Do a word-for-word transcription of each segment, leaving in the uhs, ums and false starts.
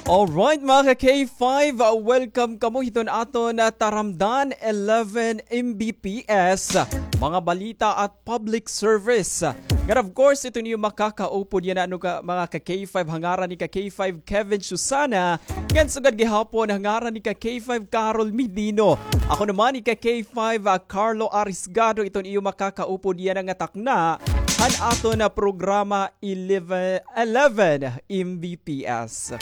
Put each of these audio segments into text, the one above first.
Alright, mga ka-K five, uh, welcome kamo hiton aton, uh, Taramdan eleven M B P S, mga balita at public service. Ngan of course, iton iyo makakaupod yana, ano ka, mga ka-K five, ha ngaran ni ka-K five Kevin Susana, ngan sugad gihapon ha ngaran ni ka-K five Carol Medino. Ako naman ni ka-K five, uh, Carlo Arisgado, iton iyo makakaupod yana nga takna han aton, uh, programa eleven, eleven M B P S.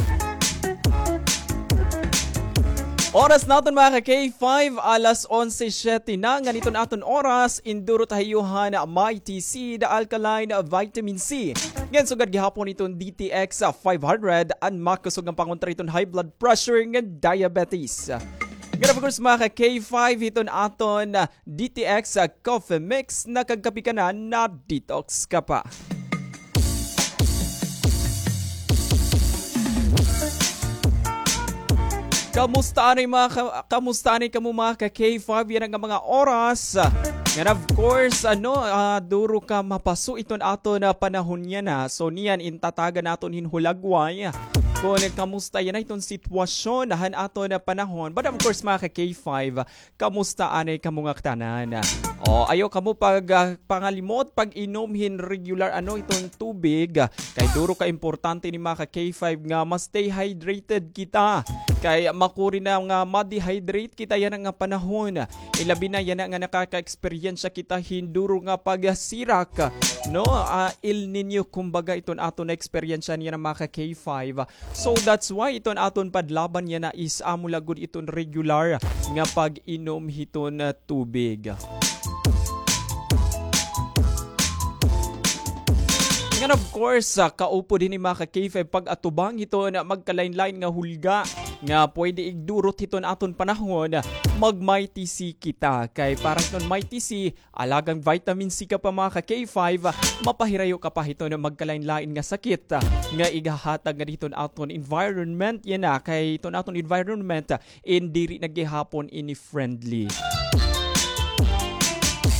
Oras naton, mga ka-K five, alas onse siyete na, ngan iton aton oras, indurot ha iyo han Mighty Seed Alkaline Vitamin C. Ngan sugad gihapon iton D T X five hundred, an makusog nga pangontra hiton high blood pressure ngan diabetes. Ngan of course, mga ka-K five, hiton aton D T X, ah, Coffee Mix, nakagkape ka na, na-detox ka pa. Kamusta anay mga ka-, kamusta anay kamo mga ka-K five yana nga mga oras? Ngan of course, ano, ah, duro ka mapaso iton aton panahon yana. So niyan in tatagan naton hin hulagway kon kamusta yana iton sitwasyon han aton panahon. But of course, mga ka-K five, kamusta anay kamo ngatanan? O, ayaw kamo pag, ah, pangalimot pag-inom hin regular, ano, iton tubig. Kay duro ka importante ini, mga ka-K five, nga ma-stay hydrated kita. Kay makuri na nga ma-dehydrate kita yana nga panahon. Ilabi na yana nga nakaka-eksperyensya kita hin duro nga pagsirak, no? Ah, El Niño, kumbaga, iton aton na-eksperyensya yana, mga ka-K five. So that's why iton aton padlaban yana is amo la gud iton regular nga pag-inom hiton, ah, tubig. Ngan of course, ah, kaupod hini, mga ka-K five, pag-atubang hiton magkalain-lain nga hulga nga pwede igdurot hiton aton panahon, mag-Mighty C kita. Kay para hiton Mighty C, alagang vitamin C ka pa, mga ka-K five, mapahirayo ka pa hiton magkalain-lain nga sakit nga igahatag ngadi hiton aton environment yana, kay iton aton environment, in diri na gihapon ini friendly.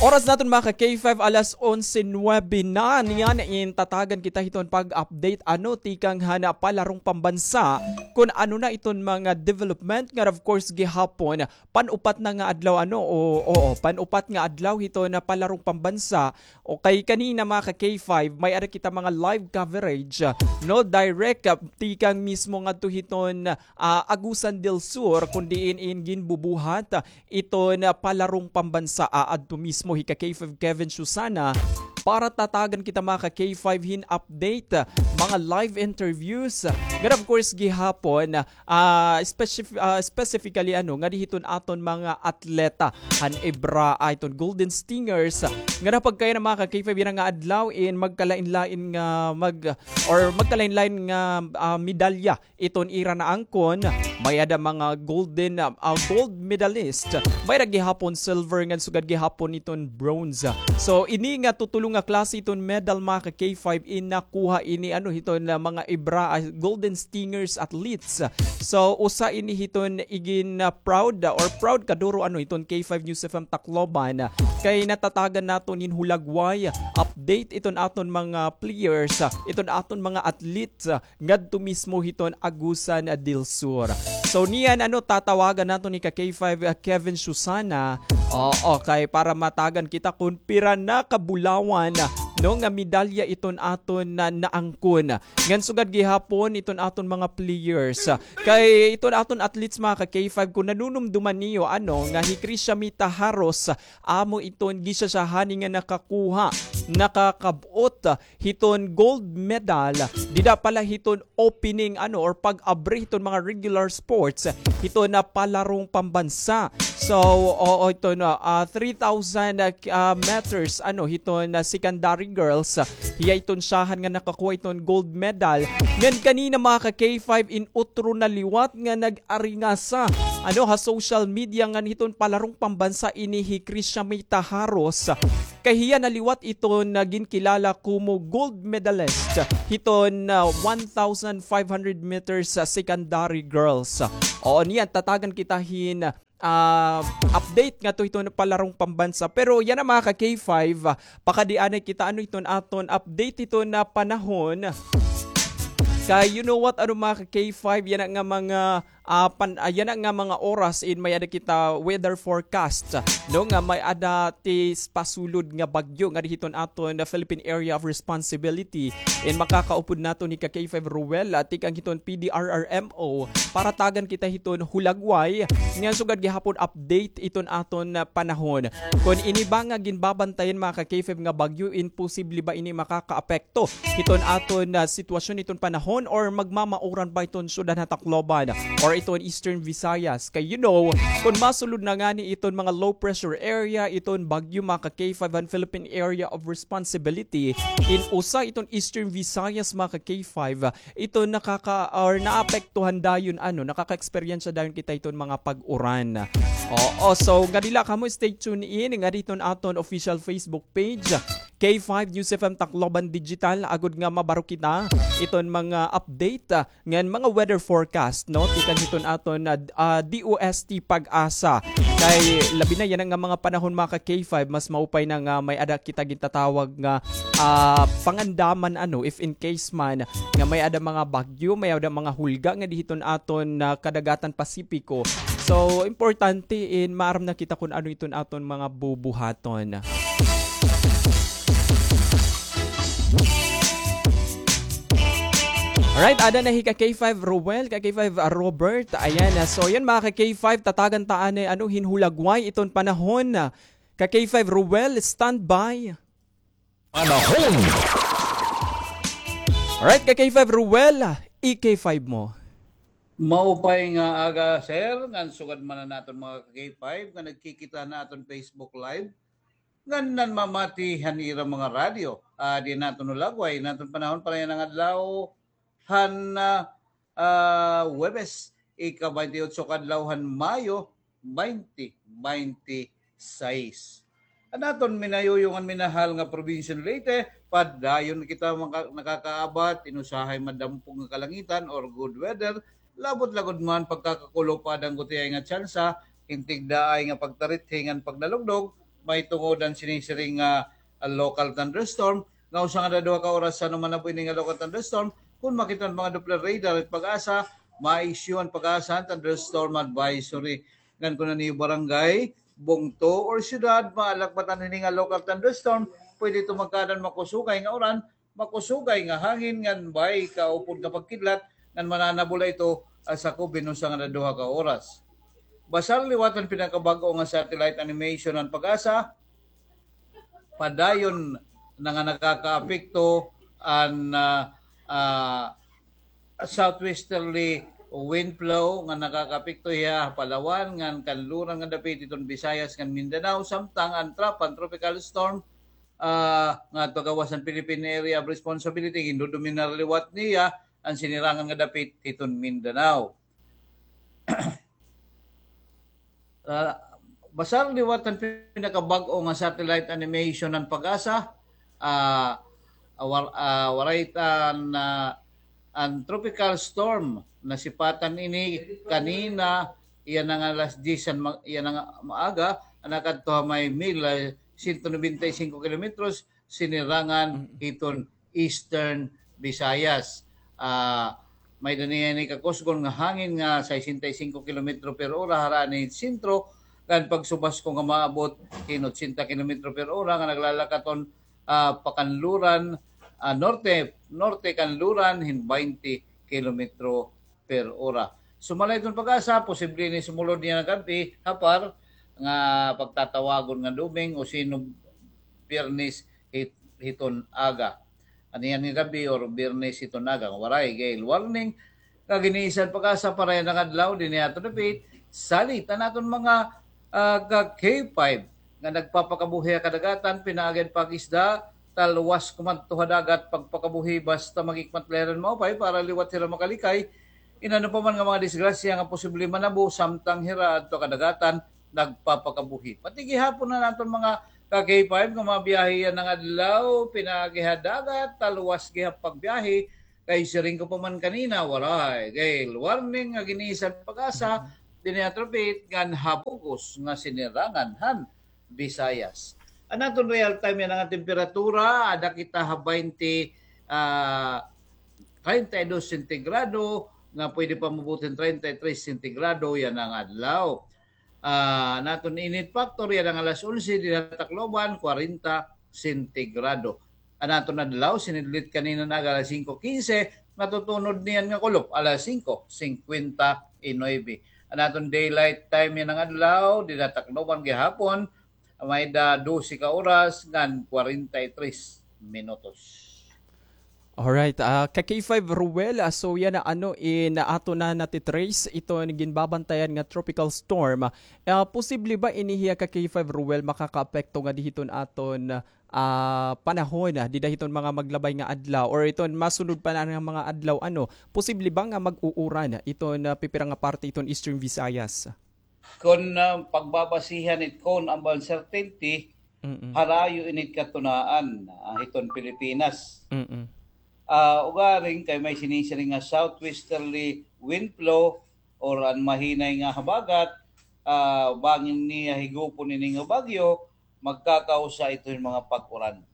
Oras naton, mga ka-K five, alas onse nuwebe na. Niyan in tatagan kita hiton pag-update, ano, tikang han palarong pambansa, kon ano na iton mga development nga, of course, gihapon pan-upat na nga adlaw, ano, o, oo, pan-upat nga adlaw hiton palarong pambansa. O kay kanina, mga ka-K five, may-ada kita mga live coverage, ah, no, direct, ah, tikang mismo ngadto hiton, ah, Agusan del Sur, kon diin in ginbubuhat, ah, iton palarong pambansa, ah, adto mismo hi ka-K five Kevin Susana para tatagan kita, mga ka-K five, hin update, ah, mga live interviews, ah, ngan of course gihapon, ah, Ah, specif-, ah, specifically, ano, ngadi hiton aton mga atleta han IBRAA, iton Golden Stingers, nga napagkaya na, mga ka-K five, yana nga adlaw in magkalain-lain nga mag-, or magkalain-lain nga, ah, medalya iton ira naangkon. May-ada mga golden, ah, ah, gold medalist, may-ada gihapon silver, ngan sugad gihapon iton bronze. So, ini nga tutulo nga klase iton medal, mga ka-K five, in nakuha ini, ano, hiton, ah, mga IBRAA, ah, Golden Stingers athletes. So, usa ini hiton igin, ah, proud, ah, or proud kaduro, ano, hiton K five News F M Tacloban, ah, kay natatagan naton hin hulagway, update iton aton mga players, ah, iton aton mga athletes, ah, ngadto mismo hiton Agusan del Sur. So, niyan, ano, tatawagan naton ni ka-K five, ah, Kevin Susana. Oo, kay para matagan kita kon pira na ka bulawan, no, nga medalya iton aton na naangkon. Ngan sugad gihapon iton aton mga players. Kay iton aton athletes, mga ka-K five, kon nanunumduman niyo, ano, nga hi Krisha Mita Haros, amo iton gisa siya hani nga nakakuha, nakakab-ot hiton gold medal dida pala hiton opening, ano, or pag-abri hiton mga regular sports hiton palarong pambansa. So, oo, iton, ah, three thousand, ah, meters, ano, hiton, ah, secondary girls, hiya iton siyahan nga nakakuha iton gold medal. Ngan kanina, mga ka-K five, in utro na liwat nga nag-aringasa, ano, ha social media ngan hiton palarong pambansa ini hi Krisha Mita Haros. Kay hiya na liwat iton ginkilala komo gold medalist hiton, ah, one thousand five hundred meters, ah, secondary girls. Oo, niyan tatagan kita hin, ah, update ngadto hiton palarong pambansa. Pero yana, mga ka-K five, ah, pakadi anay kita, ano, hiton aton update hiton panahon. Kay you know what, ano, mga ka-K five, yana nga mga, ah, pan-, ah, yana nga mga oras in may-ada kita weather forecast, no, nga may-ada ti pasulod nga bagyo ngadi hiton aton, ah, Philippine Area of Responsibility. In makakaupod naton hi ka-K five Ruel, ah, tikang hiton P D R R M O, para tagan kita hiton hulagway nga sugad gihapon update iton aton, ah, panahon. Kon ini ba nga ginbabantayan, mga ka-K five, nga bagyo, in posible ba ini makakaapekto hiton aton, ah, sitwasyon hiton panahon, or magmamauran ba iton syudad han Tacloban or iton Eastern Visayas? Kay, you know, kon masulod na ngani iton mga low pressure area, iton bagyo, mga ka-K five, han Philippine Area of Responsibility, in usa iton Eastern Visayas, mga ka-K five, ito nakaka-, or naapektuhan dayon, ano, nakaka-eksperyensya dayon kita iton mga pag-uran. Oo, so, ngadi la kamo, stay tuned in ngadi hiton aton official Facebook page, K five News F M Tacloban Digital, agod nga mabaro kita iton mga update, ah, ngan mga weather forecast, no? Tikang hiton aton na, ah, D O S T PAGASA. Kay labi na yana nga mga panahon, mga ka-K five, mas maupay na nga may-ada kita gintatawag nga, ah, pangandaman, ano, if in case man nga may-ada mga bagyo, may-ada mga hulga ngadi hiton aton, ah, kadagatan Pasipiko. So, importante in maaram na kita kon ano iton aton mga bubuhaton. Alright, ada na hi ka-K five Roel, ka-K five Robert. Ayan, ah, so yan, mga ka-K five, tatagan ta anay, ano, hin hulagway iton panahon. Ka-K five Roel, standby. Panahon. Alright, ka-K five Roel, i-K five mo. Maupay nga aga, sir, ngan sugad man an aton mga ka-K five nga nagkikita han aton Facebook Live, ngan nanmamati han ira mga radyo. Ah, di naton hulagway, naton panahon para yana nga adlaw, han, ah, ah, Huwebes, ika-baynte otso ka adlaw han Mayo, baynte baynte sais. An aton minayuyong ngan minahal nga probinsya han Leyte, padayon kita maka-, nakakaabat hin usahay madampog nga kalangitan or good weather, labot la gud man pagkakakulop aada han gutiay nga tsansa hin tigdaay nga pagtarithi ngan pagdalugdog, mahitungod han sinisiring nga, ah, local thunderstorm, nga usa ngada duha ka oras san human nabo ini nga local thunderstorm, kon makita han mga Doppler radar it PAGASA, ma-issue an PAGASA han thunderstorm advisory. Ngan kon an iyo barangay, bungto, or syudad maalakbatan hini nga local thunderstorm, pwede ito magkaada han makusugay nga uran, makusugay nga hangin ngan bay kaupod nga pagkidlat ngan mananabo la ito, ah, sakob hin usa ngada duha ka oras. Basar liwat han pinakabag-o nga satellite animation han PAGASA, padayon na nga nakakaapekto an, ah, ah, southwesterly wind flow nga nakakaapekto hiya ha Palawan ngan kanluran nga dapit hiton Visayas ngan Mindanao, samtang an TRAP, an Tropical Storm, ah, nga ngadto ha gawas han Philippine Area of Responsibility, gindodominar liwat niya an sinirangan nga dapit hiton Mindanao. Ah, basar liwat han pinakabag-o nga satellite animation han PAGASA, ah, ah, war-, ah, waray it an, ah, an tropical storm, nasipatan ini kanina, yana nga alas diyes han ma-, yana nga maaga, nakadto ha may mil, ah, sento nobenta y singko kilometros, sinirangan hiton Eastern Visayas. Ah, may-ada niya ini kakusgon nga hangin nga sesenta y singko kilometro per ora harani hin sentro, ngan pagsubasko nga maabot hin otsenta kilometro per ora nga naglalakaton, ah, pakanluran, ah, norte, norte kanluran hin baynte kilometro per ora. Sumala hiton PAGASA, posible ini sumulod niyan nga gab-i, ha par nga pagtatawagon nga Domingo, sino Biyernes hit-, hiton aga. Aniyan nga gab-i or Biyernes hiton aga, waray gale warning nga giniisa han PAGASA para yana nga adlaw dinhi ha aton dapit. Salit an aton mga, ah, ka K five nga nagpapakabuhi ha kadagatan, pinaagi han pag-isda, talwas kumadto ha dagat, pagpakabuhi basta maghikmat la hira hin maupay para liwat hira makalikay hin ano pa man nga mga disgrasya nga posible manabo samtang hira adto ha kadagatan nagpapakabuhi. Pati gihapon an aton mga ka K five nga mabiyahe yana nga adlaw, pinaagi ha dagat, talwas gihap pagbiyahe, kay siring ko pa man kanina, waray gale warning nga giniisa han PAGASA dinhi ha aton dapit ngan ha bug-os nga sinirangan han Visayas. An aton real time yana nga temperatura, ada kita ha baynte, ah, treinta y dos sentigrado, nga pwede pa maabot hin treinta y tres sentigrado yana nga adlaw. Ah, an aton init factor yana nga alas onse dinha Tacloban, kwarenta sentigrado. An aton adlaw, sinidlit kanina nga aga alas singko kinse, natutunod niyan nga kulop, alas singko singkwenta y nuebe. An aton daylight time yana nga adlaw dinha Tacloban gihapon, may-ada dose ka oras ngan kwarenta y tres minutos. Alright, ah, ka K five Ruel, ah, so yana, ano, in aton na nati-trace iton ginbabantayan nga tropical storm. Ah, posible ba ini hiya, ka K five Ruel, makakaapekto ngadi hiton aton, ah, panahon, ah, dida hiton mga maglabay nga adlaw or iton masunod pa na nga mga adlaw, ano, posible ba nga mag-uuran iton, ah, pipira nga parte iton Eastern Visayas? Kon, ah, pagbabasihan it cone of uncertainty, Mm-mm. harayo ini it katunaan, ah, hiton Pilipinas. Mm-mm. Ah, ugaring kay may sinisiring nga southwesterly wind flow or an mahinay nga habagat, ah, bangin niya higupon ini nga bagyo, magkakausa ito hin mga pag-uran.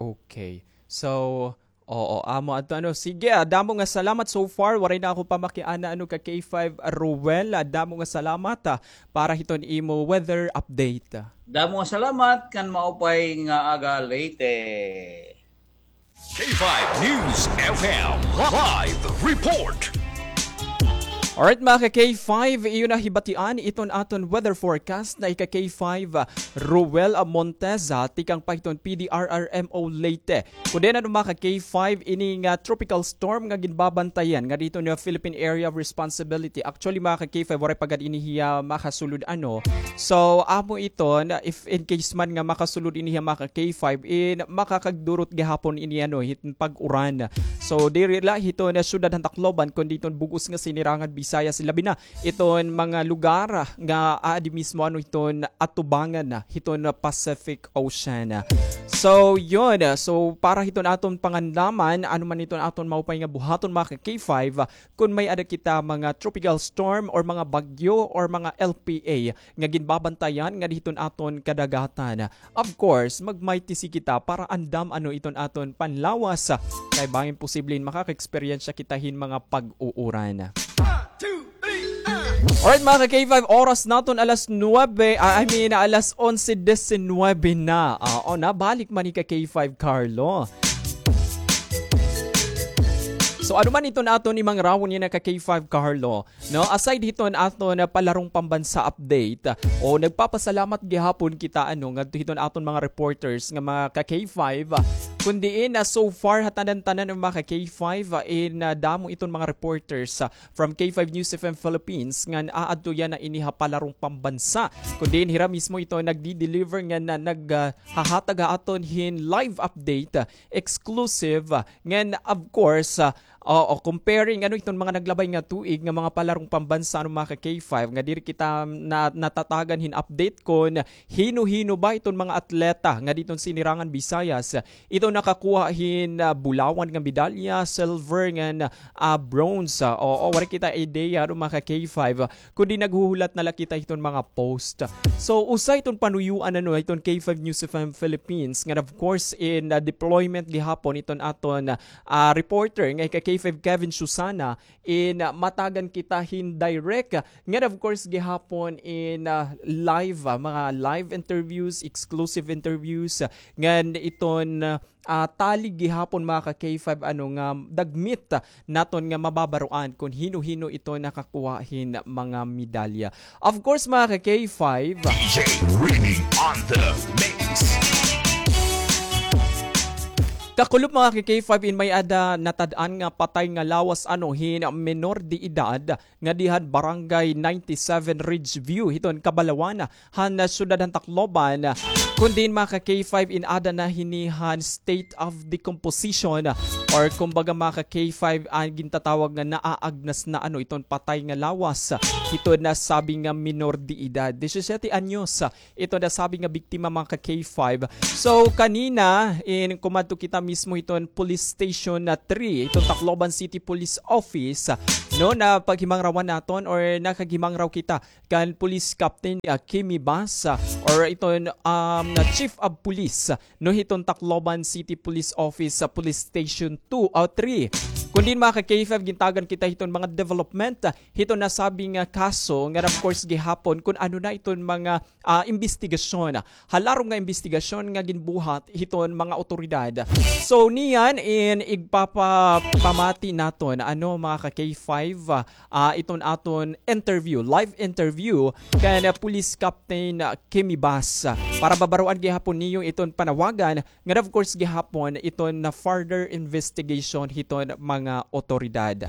Okay. So, oo, amo adto, ano. Sige, ah, damo nga salamat so far. Waray na ako pa makiana, ano, ka K five Ruel. Ah, damo nga salamat, ah, para hiton imo weather update. Damo nga salamat, kan maupay nga aga, Leyte. K five News F M live report. Alright, mga ka K five, iyo na hibatian iton aton weather forecast na ika K five, Ruel Montes, ah, tikang pa hiton P D R R M O Leyte. Kundi na, mga ka K five, ini nga tropical storm nga ginbabantayan nga dito nga Philippine Area of Responsibility. Actually, mga ka K five, waray pa gad ini hiya makasulod, ano. So, amo iton, if in case man nga makasulod ini hiya, mga ka K five, in makakagdurot gihapon ini, ano, hit pag-uran. So, diri la hiton syudad han Tacloban, kundi iton bug-os nga Sinirangan Visayas, labi na iton mga lugar nga aadi mismo, ano, hiton atubangan na hiton Pacific Ocean. So, yun. So, para hiton aton panganlaman, ano man iton aton maupay nga buhaton, mga ka K five, kun may-ada kita mga tropical storm or mga bagyo or mga L P A nga ginbabantayan ngadi hiton aton kadagatan. Of course, magmaytisi kita para andam, ano, iton aton panlawas. Kay bangin posible makaka-eksperyensya kita hin mga pag-uuran. Alright, mga ka K five, oras naton alas nuebe, ah, I mean, alas onse disinwebe na. Ah, oo, nabalik man ni ka K five Carlo. So, ano man iton aton imangarawon yana, ka K five Carlo? No, aside hiton aton palarong pambansa update, o, nagpapasalamat gihapon kita, ano, ngadto hiton aton mga reporters nga mga ka K five, kun diin, ah, so far, ha tanan-tanan nga mga ka K five, ah, in, ah, damo iton mga reporters, ah, from K five News F M Philippines ngan aadto yana ini ha palarong pambansa. Kun diin hira mismo ito nagdi-deliver ngan, ah, nag, ah, hahatag ha aton hin live update, ah, exclusive, ah, ngan, of course, ah, oo, comparing, ano, iton mga naglabay nga tuig nga mga palarong pambansa, ano, mga ka K five, nga diri kita na, natatagan hin update kon hino-hino ba iton mga atleta nga diton Sinirangan Visayas ito nakakuha hin, ah, bulawan nga medalya, silver ngan, ah, bronze. Ah, oo, waray kita ideya, ano, mga ka K five, kundi naghuhulat na la kita hiton mga post. So, usa iton panuyuan, ano, hiton K five News F M Philippines, ngan of course in, ah, deployment gihapon iton aton, ah, reporter nga ika K five Kevin Susana, in, ah, matagan kita hin direct, ngan of course gihapon in, ah, live, ah, mga live interviews, exclusive interviews, ah, ngan iton, ah, ah, tali gihapon, mga ka K five, ano, nga dagmit, ah, naton nga mababaroan kon hino-hino ito nakakuha hin mga medalya. Of course, mga ka K five, D J Rini on the mix. Kakulop, mga ka K five, in may-ada natad-an nga patay nga lawas, ano, hin menor de edad nga dihan Barangay ninety-seven Ridgeview hiton Kabalawan han syudad han Tacloban. Kun diin, mga ka K five, in-ada na hini han state of decomposition, or kumbaga, mga ka K five, an gintatawag nga naaagnas na, ano, iton patay nga lawas hiton nasabi nga menor de edad. Disisiyete anyos ito nasabi nga biktima, mga ka K five. So, kanina, in kumadto kita mismo hiton Police Station na three, hiton Tacloban City Police Office, no, napaghimangrawan naton or nakaghimangraw kita kan Police Captain, ah, Kimi Bas, ah, or iton, um, Chief of Police, no, hiton Tacloban City Police Office, ah, Police Station two o three. Kun diin, mga ka-K five, gintagan kita hiton mga development, ah, hiton nasabi nga kaso, nga of course gihapon kun ano na iton mga, ah, imbestigasyon. Halarom nga imbestigasyon nga ginbuhat hiton mga awtoridad. So, niyan in igpapapamati naton, ano, mga ka-K five, ah, ah, iton aton interview, live interview kan, ah, Police Captain, ah, Kimi Bas. Para mabaroan gihapon niyo iton panawagan, ngan of course gihapon iton na further investigation hiton mga awtoridad.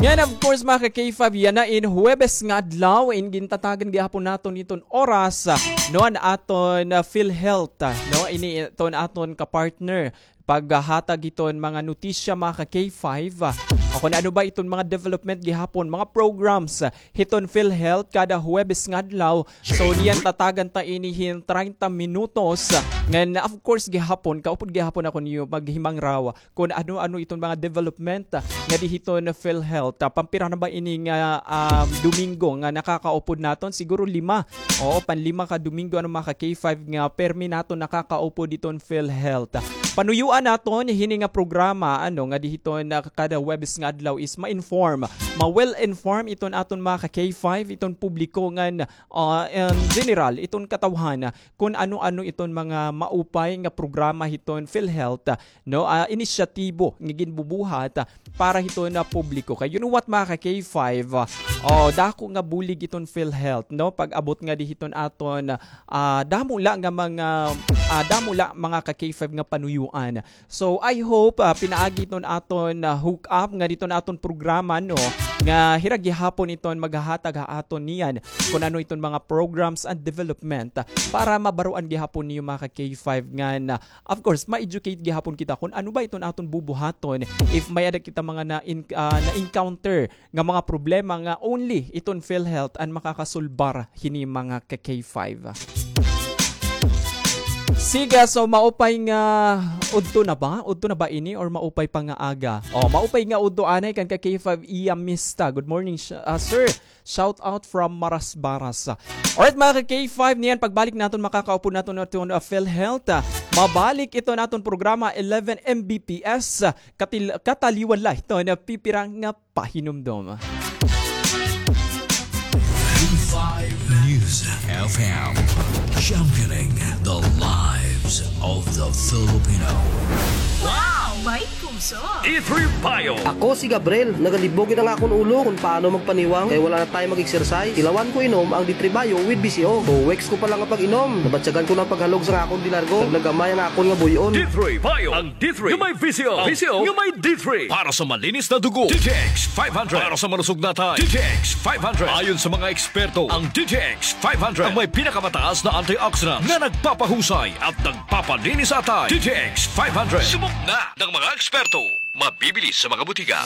Ngan of course, mga ka-K five, yana in Huwebes nga adlaw, in gintatagan gihapon naton iton oras, no, an aton, ah, PhilHealth, no, ini iton aton ka-partner paghahatag hiton mga notisya, mga ka-K five. Ah, kun ano ba iton mga development gihapon, mga programs, ah, hiton PhilHealth kada Huwebes nga adlaw. So, niyan tatagan ta ini hin treinta minutos. Ngan, of course, gihapon, kaupod gihapon ako niyo maghimangraw kun ano-ano iton mga development, ah, ngadi hiton PhilHealth. Ah, pampira na ba ini nga, ah, Domingo nga nakakaupod naton? Siguro lima. Oo, panlima ka Domingo, ano, mga ka-K five, nga permi naton nakakaupod iton PhilHealth. Panuyuan naton hini nga programa, ano, ngadi hiton, ah, kada Huwebes nga adlaw is ma-inform, ma-well inform iton aton mga ka-K five, iton publiko ngan, ah, in general, iton katawhan, kun ano-ano iton mga maupay nga programa hiton PhilHealth, no, ah, inisyatibo nga ginbubuhat, ah, para hiton, ah, publiko. Kay you know what, mga ka-K five, ah, oh, dako nga bulig iton PhilHealth, no? Pag-abot ngadi hiton aton, ah, damo la nga mga, ah, damo la, mga ka-K five, nga panuyuan. So, I hope, ah, pinaagi hiton aton, ah, hook up ngadi hiton aton programa, no, nga hira gihapon iton maghahatag ha aton niyan kun ano iton mga programs and development, ah, para mabaroan gihapon niyo, mga ka-K five, ngan, ah, of course, ma-educate gihapon kita kun ano ba iton aton bubuhaton if may-ada kita mga na-in-, ah, na-encounter nga mga problema nga only iton PhilHealth an makakasolbar hini, mga ka-K five. Sige, so maupay nga udto na ba? Udto na ba ini or maupay pa nga aga? Oh, maupay nga udto anay kan ka-K five Iya Mista. Good morning, sh-, ah, sir. Shout out from Marasbaras. Alright, mga ka-K five, niyan pagbalik naton, makakaupod naton iton, ah, PhilHealth, ah, mabalik iton aton programa eleven M B P S, ah, katil-, kataliwan la iton, ah, pipira nga pahinumdom. News F M, championing the lives of the Filipino. Wow! May puso! D three Bio. Ako si Gabriel. Nagalibog gid an akon ulo kon paano magpaniwang kay wala na tayo mag-exercise. Tilawan ko inom ang D three Bio with V C O. Two weeks ko pa lang nga pag-inom, nabatyagan ko na an paghalog sa akon dilargo. Nagnagamay an akon nga buy-on. D three Bio. Ang D three nga may V C O. V C O nga may D three. Para sa malinis na dugo, D T X five hundred. Para sa malusog na atay, D T X five hundred. Ayon sa mga eksperto, ang D T X five hundred ang may pinakamataas na antioxidant na nagpapahusay at nagpapalinis sa atay. D T X five hundred. Subok na ng mga eksperto. Mabibili sa mga butika.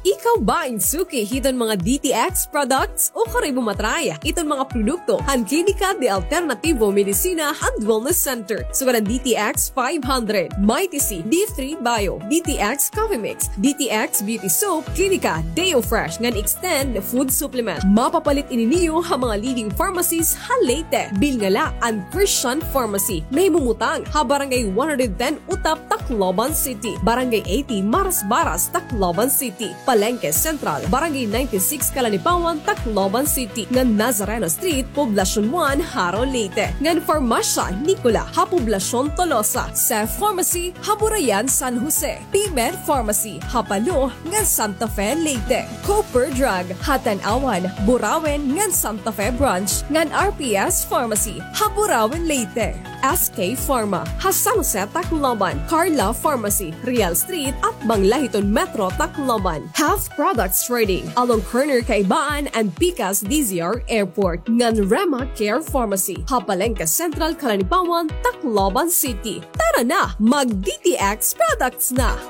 Ikaw ba in suki hiton mga D T X products? O kari mo ma-try iton mga produkto han Klinika de Alternativo Medicina and Wellness Center. Sugad an D T X five hundred, Mighty C, D three Bio, D T X Coffee Mix, D T X Beauty Soap, Klinika Deo Fresh ngan Extend Food Supplement. Mapapalit ini niyo ha mga leading pharmacies ha Leyte. Bilnga la an Christian Pharmacy. Nahimumutang ha Barangay one hundred ten Utap, Tacloban City, Barangay eighty Marasbaras, Tacloban City, Palenque Central, Barangay ninety-six Calanipawan, Tacloban City, ngan Nazareno Street, Poblacion one, Jaro, Leyte, ngan Farmacia Nicola ha Poblacion Tolosa, Safe Pharmacy ha Burayan, San Jose, P-Med Pharmacy ha Palo ngan Santa Fe, Leyte, Cooper Drug ha Tanauan, Burauen ngan Santa Fe Branch, ngan R P S Pharmacy ha Burauen, Leyte. S K Pharma ha San Jose, Tacloban, Carla Pharmacy, Real Street, atbang la hiton Metro Tacloban, Health Products Trading along corner Kaibaan and Pikas D Z R Airport, ngan Rema Care Pharmacy ha Palenque Central, Calanipawan, Tacloban City. Tara na, mag D T X products na!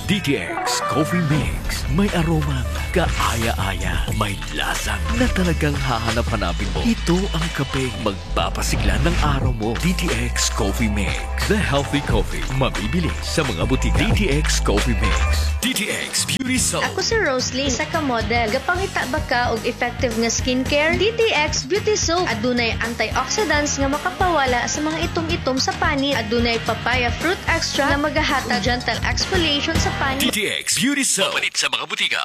D T X Coffee Mix. May aromang kaaya-aya, may lasang na talagang hahanap-hanapin mo. Ito ang kapeng magpapasigla ng araw mo. D T X Coffee Mix, the healthy coffee, mabibili sa mga butika. D T X Coffee Mix, D T X Beauty Soap. Ako si Roslyn, isa ka model. Gapangita ba ka og effective nga skincare? D T X Beauty Soap. Adunay antioxidants nga makapawala sa mga itom-itom sa panit. Adunay papaya fruit extract nga magahatag gentle exfoliation sa panit. D T X Beauty Soap. Mapalit sa mga butika.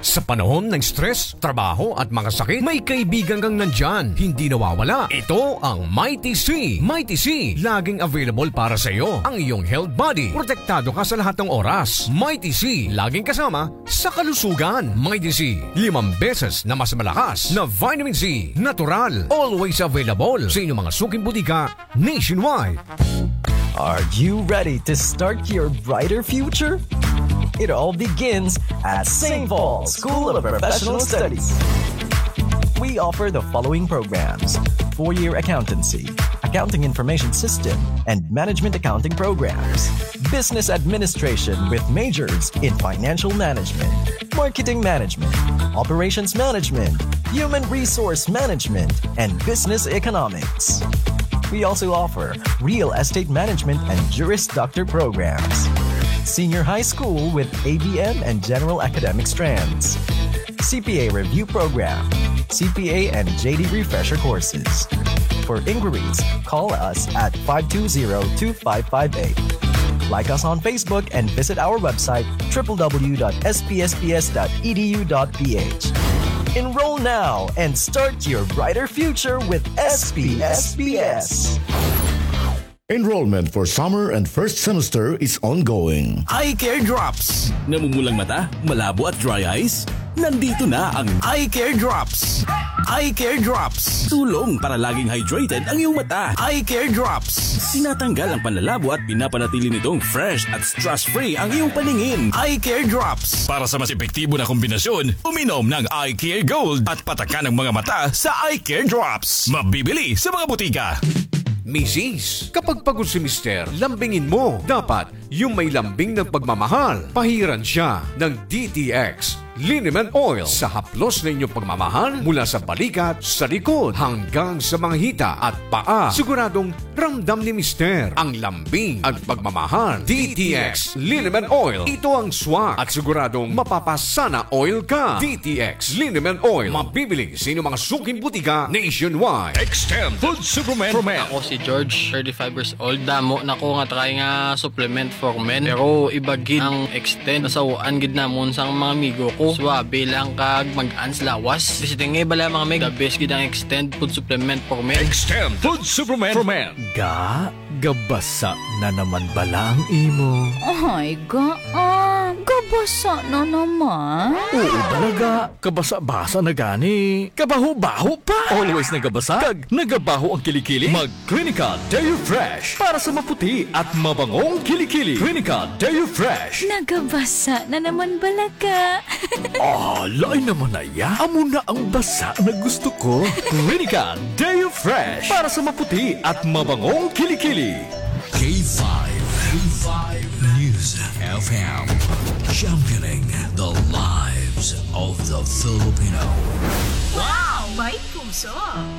Sa panahon ng stress, trabaho at mga sakit, may kaibigan kang nandyan, hindi nawawala. Ito ang Mighty C. Mighty C, laging available para sa iyo. Ang iyong health buddy. Protektado ka sa lahat ng oras. Mighty C, laging kasama sa kalusugan. Mighty C, limang beses na mas malakas na vitamin C. Natural. Always available sa inyong mga suking butika nationwide. Are you ready to start your brighter future? It all begins at Saint Paul School of Professional Studies. We offer the following programs: four-year accountancy, accounting information system, and management accounting programs, business administration with majors in financial management, marketing management, operations management, human resource management, and business economics. We also offer real estate management and Juris Doctor programs, senior high school with A B M and general academic strands, C P A review program, C P A and J D refresher courses. For inquiries, call us at five two zero, two five five eight. Like us on Facebook and visit our website, triple W dot S P S P S dot E D U dot P H. Enroll now and start your brighter future with S P S P S. Enrollment for summer and first semester is ongoing. Eye Care Drops. Namumulang mata, malabo at dry eyes? Nandito na ang Eye Care Drops. Eye Care Drops. Tulong para laging hydrated ang iyong mata. Eye Care Drops. Tinatanggal ang panlalabo at pinapanatili nitong fresh at stress-free ang iyong paningin. Eye Care Drops. Para sa mas epektibo na kombinasyon, uminom ng Eye Care Gold at patakan ang mga mata sa Eye Care Drops. Mabibili sa mga butika. Misis, kapag pagod si Mister, lambingin mo. Dapat yung may lambing ng pagmamahal. Pahiran siya ng D T X Liniment Oil. Sa haplos na inyong pagmamahal, mula sa balikat, sa likod, hanggang sa mga hita at paa, siguradong ramdam ni Mister ang lambing at pagmamahal. D T X Liniment Oil. Ito ang swak at siguradong mapapasana all ka. D T X Liniment Oil. Mabibili sa inyong mga suking butika nationwide. Extend Food Supplement for Men. Ako si George, thirty-five years old. Damo na ko nga try nga supplement for men. Pero iba gid ang Extend. Nasaw-an gid namon sang mga amigo ko. Suwabe lang kag mag-ans lawas. Basta nga bala mga meg, the best gid ang Extend Food Supplement for Men. Extend Food Supplement for Men. Ga, gabasa na naman bala ang imo. Ay, ga, ah, gabasa na naman. Oo, bala ga. Kabasa-basa na gani. Kabaho-baho pa. Always nagabasa kag nagabaho ang kilikili. Mag Clinica Deo Fresh para sa maputi at mabangong kilikili. Clinica Deo Fresh. Nagabasa na naman bala ka. Ah, lain naman na iya. Amo na ang basa na gusto ko. Clinica Deo Fresh para sa maputi at mabangong kilikili. K five, K five News F M, championing the lives of the Filipino. Wow! May puso!